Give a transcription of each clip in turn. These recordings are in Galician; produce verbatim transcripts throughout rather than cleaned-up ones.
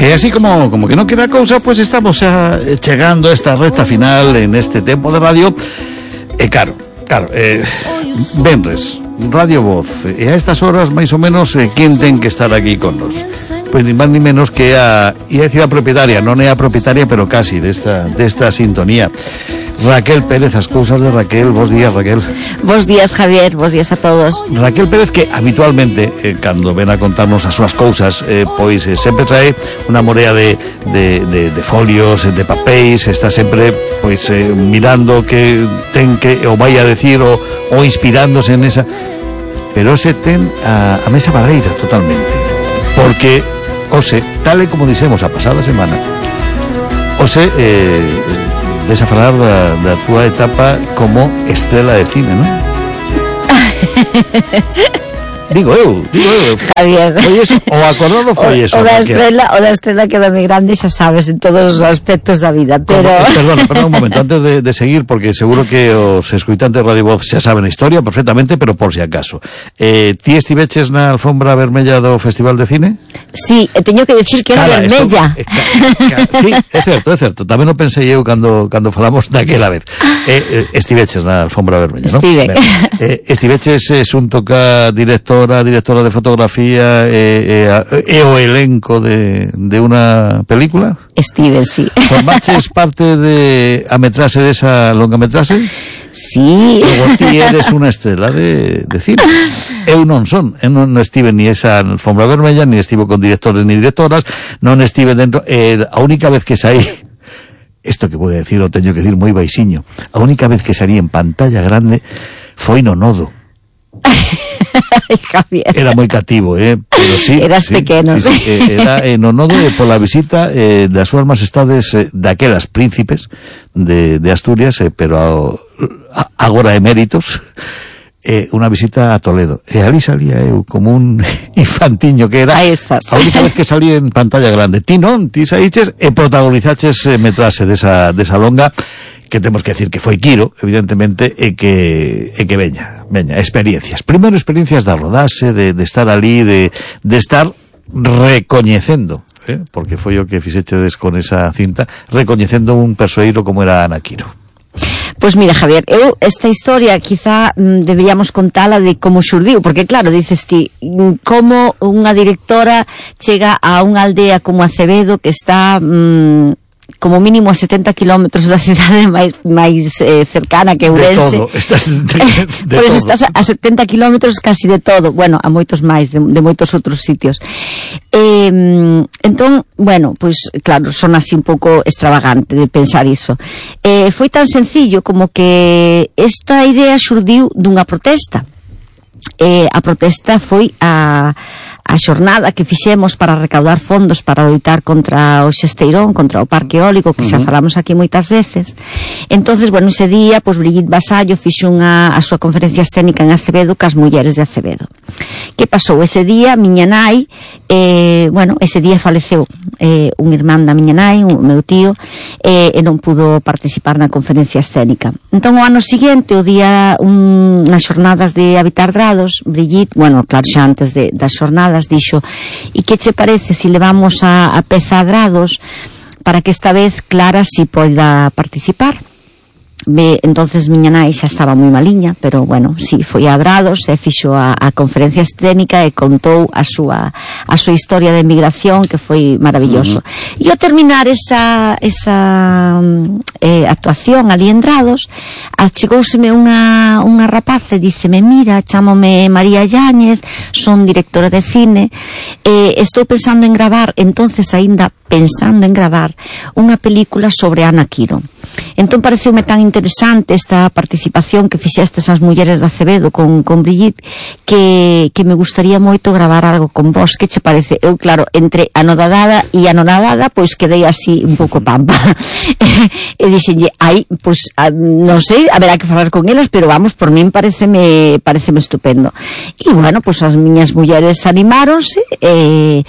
E así como, como que non queda cousa, pois pues estamos xa chegando a esta recta final en este tempo de radio. E claro, claro, eh, venres, Radio Voz, e a estas horas máis ou menos eh, quen ten que estar aquí con nos? Pois ni máis ni menos que a, ia decir a propietaria, non é a propietaria, pero casi desta, desta sintonía, Raquel Pérez. As cousas de Raquel. Bos días, Raquel. Bos días, Javier, bos días a todos. Raquel Pérez, que habitualmente eh, cando ven a contarnos as súas cousas, eh, pois eh, sempre trae unha morea de, de, de, de folios, de papéis, está sempre pois eh, mirando que ten que o vai a decir o, o inspirándose en esa, pero se ten a, a mesa barreira totalmente, porque ose, tal e como dixemos a pasada semana, ose eh, ves a falar da, da túa etapa como estrela de cine, non? Digo eu, digo eu. Javier. Foi eso, o acordado foi eso. O da estrela, o da estrela queda moi grande, xa sabes, en todos os aspectos da vida, pero... Perdón, perdón un momento, antes de, de seguir, porque seguro que os escoitantes de Radio Voz xa saben a historia perfectamente, pero por si acaso. Eh, ti estiveches na alfombra vermella do Festival de Cine? Sí, e teño que decir que era Cara, vermella. Esto, eh, ca, ca, sí, é certo, é certo. Tamén o pensei eu cando, cando falamos daquela vez. Eh, eh, estiveches na alfombra vermella, non? Estive. Eh, estiveches eh, xunto ca directora directora de fotografía e, e, e o elenco de, de unha película? Estive, sí. Formaches parte de a metrase desa longametrase? Sí. Logo ti eres unha estrela de, de cine. Eu non son, eu non estive ni esa alfombra vermella, ni estive con directores ni directoras, non estive dentro, eh, a única vez que saí, isto que vou decir o teño que decir moi baixiño, a única vez que salí en pantalla grande foi no Nodo. Ay, Javier. Era moi cativo, eh, pero sí. Eras sí, pequeno. Sí, sí, eh, era en o Nodo pola visita eh, das súas majestades eh, daquelas príncipes de, de Asturias, eh, pero a, a, agora eméritos, eh, unha visita a Toledo. E ali salía eu como un infantiño que era. Aí estás. A única vez que salí en pantalla grande. Ti non, ti saíches e protagonizaches eh, metrase desa, desa longa, que temos que decir que foi Quiro, evidentemente, e que e que veña, veña, experiencias. Primeiro experiencias da rodaxe, de, de estar ali, de, de estar recoñecendo, eh, porque foi o que fixechedes con esa cinta, recoñecendo un persoeiro como era Ana Quiro. Pois mira, Javier, eu esta historia quizá mm, deberíamos contala de como xurdiu, porque claro, dices ti, como unha directora chega a unha aldea como Acevedo, que está... Mm, como mínimo a setenta kilómetros da cidade máis máis eh, cercana que Ourense. De todo, estás de, de, de Por eso todo. estás a setenta kilómetros casi de todo, bueno, a moitos máis, de, de moitos outros sitios. Eh, entón, bueno, pois pues, claro, son así un pouco extravagante de pensar iso. Eh, foi tan sencillo como que esta idea xurdiu dunha protesta. Eh, a protesta foi a a xornada que fixemos para recaudar fondos para loitar contra o xesteirón, contra o parque eólico, que xa falamos aquí moitas veces. Entonces, bueno, ese día, pois Brigitte Vasallo fixo unha, a súa conferencia escénica en Acevedo cas mulleres de Acevedo. Que pasou ese día? Miña nai, eh, bueno, ese día faleceu eh, un irmán da miña nai, un meu tío, eh, e non pudo participar na conferencia escénica. Entón, o ano seguinte, o día, un, nas xornadas de Habitar Grados, Brigitte, bueno, claro, xa antes de, das xornadas, dixo, e que che parece se levamos a, a peza a Grados para que esta vez Clara si poida participar? Be, entonces miña nai xa estaba moi maliña, pero bueno, si, foi a Grados e fixo a, a conferencia escénica e contou a súa a súa historia de emigración, que foi maravilloso. Uh-huh. E ao terminar esa esa eh, actuación ali en Grados, achegóuseme unha unha rapaz e díceme, mira, chámome María Yáñez, son directora de cine, e estou pensando en gravar, entonces aínda pensando en gravar unha película sobre Ana Quiro. Entón pareceume tan interesante esta participación que fixestes as mulleres de Acevedo con, con Brigitte, que, que me gustaría moito gravar algo con vos. Que che parece? Eu, claro, entre anodadada e anodadada, pois quedei así un pouco pampa. E dixenlle, ai, pois, a, non sei, haberá que falar con elas, pero vamos, por min pareceme, pareceme estupendo. E, bueno, pois as miñas mulleres animáronse, e...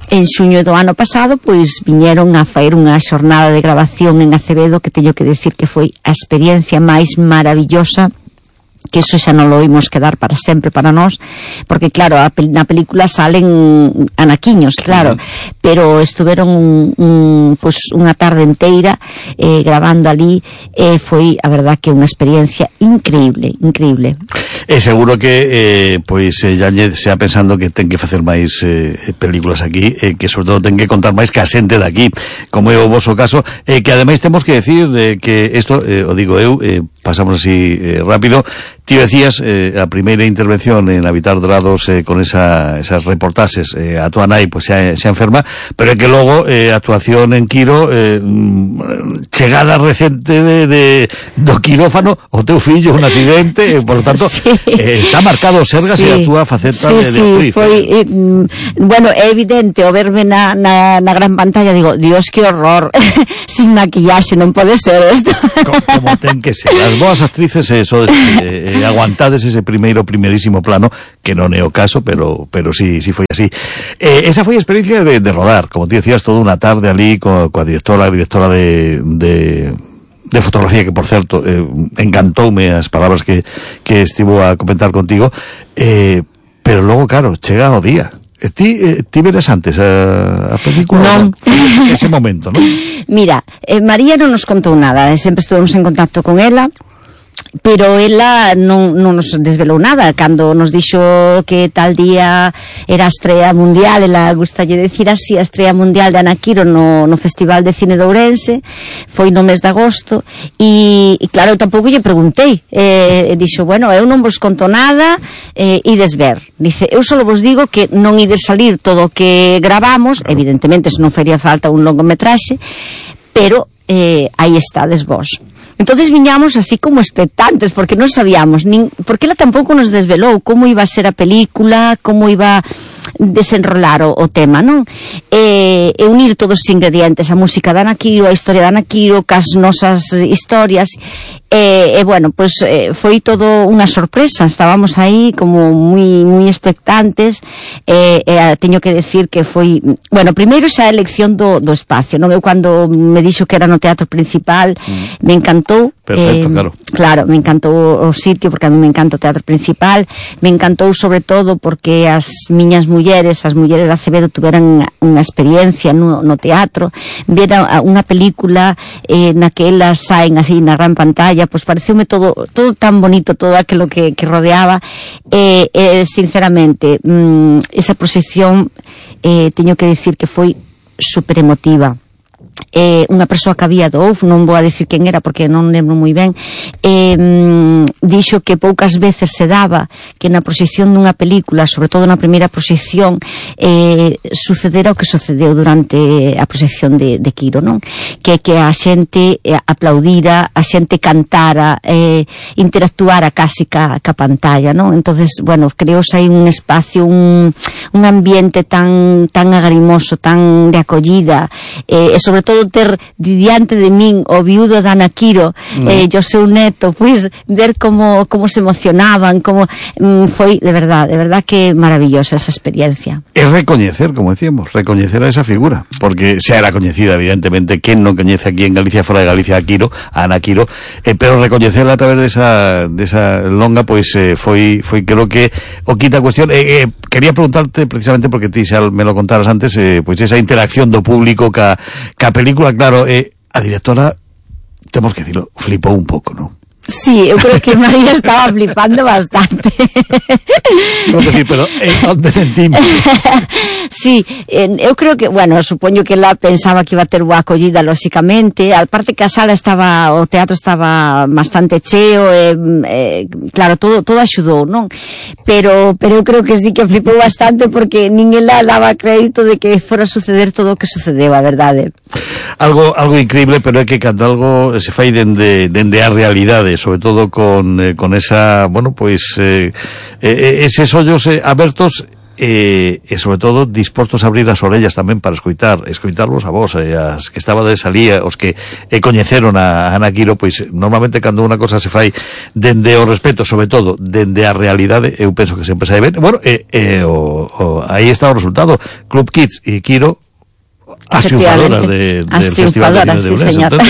en xuño do ano pasado, pois viñeron a faer unha xornada de grabación en Acevedo, que teño que decir que foi a experiencia máis maravillosa que eso xa non lo imos quedar para sempre para nós, porque claro, a, na película salen anaquiños, claro, uh-huh. pero estuveron un, un, pues, unha tarde inteira eh, grabando ali, e eh, foi a verdad que unha experiencia increíble, increíble. E seguro que eh, pois eh, Yáñez xa pensando que ten que facer máis eh, películas aquí, eh, que sobre todo ten que contar máis que a xente daqui, como é o voso caso, eh, que ademais temos que decir eh, que isto, eh, o digo eu, eh, pasamos así eh, rápido. Ti decías eh, a primeira intervención en Habitar Dorados eh, con esa, esas reportaxes, eh, a tua nai pues, xa, xa enferma, pero é que logo eh, actuación en Quiro, eh, chegada recente de, de, do quirófano, o teu fillo un accidente, eh, por lo tanto sí. eh, está marcado Sergas sí. e a túa faceta sí, de, de sí, actriz. Foi, eh, bueno, é evidente o verme na, na, na gran pantalla, digo, Dios, que horror, sin maquillaxe, non pode ser isto. Como, como ten que ser, as boas actrices eh, sodes eh, eh, aguantades ese primeiro, primerísimo plano, que non é o caso, pero pero sí, sí foi así. Eh, esa foi a experiencia de, de rodar, como ti decías, toda unha tarde ali co, coa directora, a directora de, de, de fotografía, que por certo, eh, encantoume as palabras que, que estivo a comentar contigo, eh, pero logo, claro, chega o día. E ti, eh, ti veres antes a, a película? Non. Ese momento, non? Mira, eh, María non nos contou nada, sempre estuvemos en contacto con ela, pero ela non, non nos desvelou nada. Cando nos dixo que tal día era a estrela mundial, ela gustalle decir así, a estrela mundial de Ana Quiro no, no Festival de Cine de Ourense, foi no mes de agosto, e, e claro, eu tampouco lle preguntei, eh, dixo, bueno, eu non vos conto nada, eh, ides ver, dice, eu só vos digo que non ides salir todo o que gravamos, evidentemente se non faría falta un longometraxe, pero eh, aí estades vos. Entonces viñamos así como expectantes, porque non sabíamos, nin, porque ela tampouco nos desvelou como iba a ser a película, como iba desenrolar o, o tema, non? E, e unir todos os ingredientes, a música de Ana Quiro, a historia de Ana Quiro, cas nosas historias, e, e bueno, pues eh, foi todo unha sorpresa, estábamos aí como moi moi expectantes, e, e teño que decir que foi, bueno, primeiro xa a elección do, do espacio, non? Eu cando me dixo que era no Teatro Principal, mm. me encantou. Perfecto, eh, claro. Claro, me encantou o sitio, porque a mí me encanta o Teatro Principal, me encantou sobre todo porque as miñas mulleres, as mulleres de Acevedo, tuveran unha experiencia no, no teatro, viera unha película eh, naquela saen así na gran pantalla, pois pues pareceume todo todo tan bonito, todo aquilo que, que rodeaba, e eh, eh, sinceramente, mm, esa proxección, eh, teño que dicir que foi super emotiva. Eh, unha persoa que había do O F, non vou a dicir quen era porque non lembro moi ben, eh, dixo que poucas veces se daba que na proxección dunha película, sobre todo na primeira proxección, eh, sucedera o que sucedeu durante a proxección de, de Quiro, non? Que, que a xente eh, aplaudira, a xente cantara, eh, interactuara casi ca, ca pantalla, non? Entonces, bueno, creouse aí un espacio, un, un ambiente tan tan agarimoso, tan de acollida, eh, e sobre todo ter diante de min o viudo de Ana Quiro, no. eh, o seu neto, pois ver como, como se emocionaban, como mm, foi de verdad, de verdad que maravillosa esa experiencia. Es recoñecer, como decíamos, recoñecer a esa figura, porque xa era coñecida, evidentemente, quen non coñece aquí en Galicia, fora de Galicia, a Quiro, a Ana Quiro, eh, pero recoñecerla a través de esa, de esa longa, pois eh, foi, foi creo que o quita cuestión. Eh, eh, quería preguntarte precisamente, porque ti xa me lo contaras antes, eh, pois esa interacción do público ca, ca película, claro, eh, a directora, temos que decirlo, flipou un pouco, non? Sí, eu creo que María estaba flipando bastante. Non decir, pero eh, onde mentimos? Sí, eh, eu creo que, bueno, supoño que ela pensaba que iba a ter boa acollida, lóxicamente, aparte que a sala estaba, o teatro estaba bastante cheo, eh, eh, claro, todo todo axudou, non? Pero pero eu creo que sí que flipou bastante, porque nin ela daba crédito de que fora a suceder todo o que sucedeu, a verdade. Algo algo increíble, pero é que cando algo se fai dende, dende a realidade, sobre todo con, eh, con esa, bueno, pois eh, eh, eses ollos eh, abertos, e, e sobre todo dispostos a abrir as orellas tamén para escoitar, escoitarvos a vos, eh, as que estabades ali, os que eh, coñeceron a Ana Quiro, pois normalmente cando unha cosa se fai dende o respeto, sobre todo dende a realidade, eu penso que sempre sai ben. Bueno, e, e o, o, aí está o resultado, Club Kids e Quiro, as triunfadoras de, del Festival de Cine de Ourense. Sí, entón,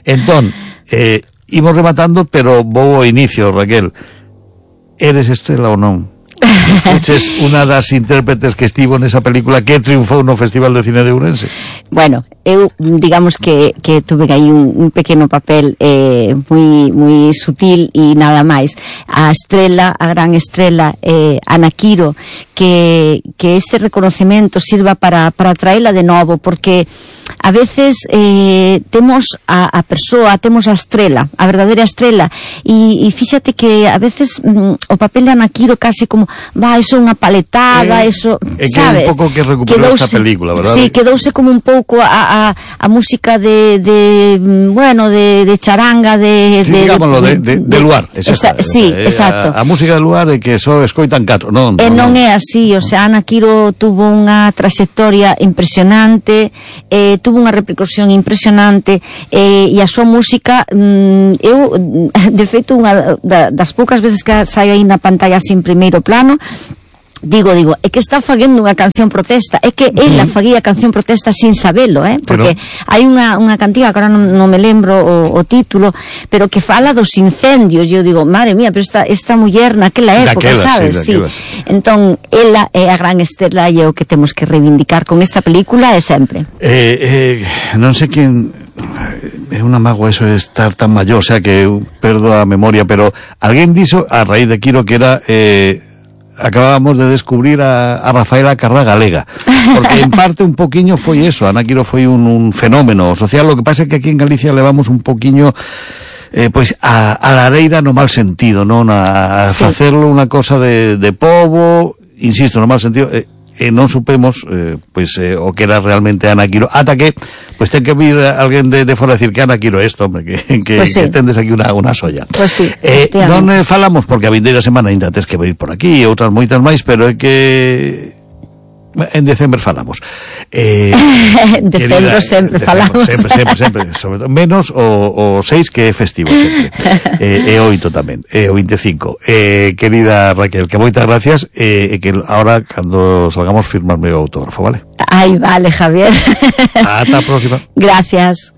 entón eh, imos rematando, pero vou ao inicio, Raquel. eres Estrela ou non? Fuches unha das intérpretes que estivo nesa película que triunfou no Festival de Cine de Ourense. Bueno, eu digamos que, que tuve aí un, un pequeno papel eh, moi, moi sutil e nada máis. A estrela, a gran estrela eh, Ana Quiro, que, que este reconocemento sirva para, para traela de novo, porque a veces eh, temos a, a persoa, temos a estrela, a verdadeira estrela, e, e fíxate que a veces mm, o papel de Ana Quiro casi como va, eso unha paletada, eh, eso, é que sabes? É un pouco que recuperou quedouse, esta película, verdad? Sí, quedouse como un pouco a, a, a música de, de bueno, de, de charanga, de... Sí, de digámoslo, de, de, de luar, exacto. Esa, sí, eh, exacto. A, a música de luar é que só escoitan catro, non? E non, non é así, o sea, Ana Quiro tuvo unha trayectoria impresionante, eh, tuvo unha repercusión impresionante, eh, e a súa música, mm, eu, de feito, unha das poucas veces que saio aí na pantalla así en primeiro plano, Digo, digo, é que está faguendo unha canción protesta, é que ela faguía canción protesta sin sabelo, eh? Porque pero... hai unha, unha cantiga, que agora non, non me lembro o, o título, pero que fala dos incendios, e eu digo, madre mía, pero esta, esta muller naquela época, daquela, sabes? Sí, sí. Entón, ela é a gran estrela e é o que temos que reivindicar con esta película e sempre. Eh, eh, non sei quen... É unha mágoa eso de estar tan maior, o sea que eu perdo a memoria, pero alguén dixo a raíz de Quiro que era... Eh, acabábamos de descubrir a, a Rafaela Carrá galega, porque en parte un poquiño foi eso, Ana Quiro foi un, un fenómeno social, lo que pasa é que aquí en Galicia levamos un poquiño eh, pois a, a lareira no mal sentido, non a, a sí. facerlo unha cosa de, de pobo, insisto, no mal sentido, eh, e non supemos eh, pois eh, o que era realmente Ana Quiro, ata que pois ten que vir alguén de, de fora a decir que Ana Quiro isto, hombre, que, que, pues sí. que tendes aquí unha, unha solla. Pues sí, eh, non eh, falamos, porque a vindeira semana ainda tes que venir por aquí e outras moitas máis, pero é que en decembro falamos. Eh, en decembro sempre falamos. Sempre, sempre, sempre, sobre todo, menos o, o seis que é festivo sempre. eh, e oito tamén, e o vinte e cinco. Eh, querida Raquel, que moitas gracias, e eh, que ahora cando salgamos firmarme o autógrafo, vale? Ai, vale, Javier. Ata a próxima. Gracias.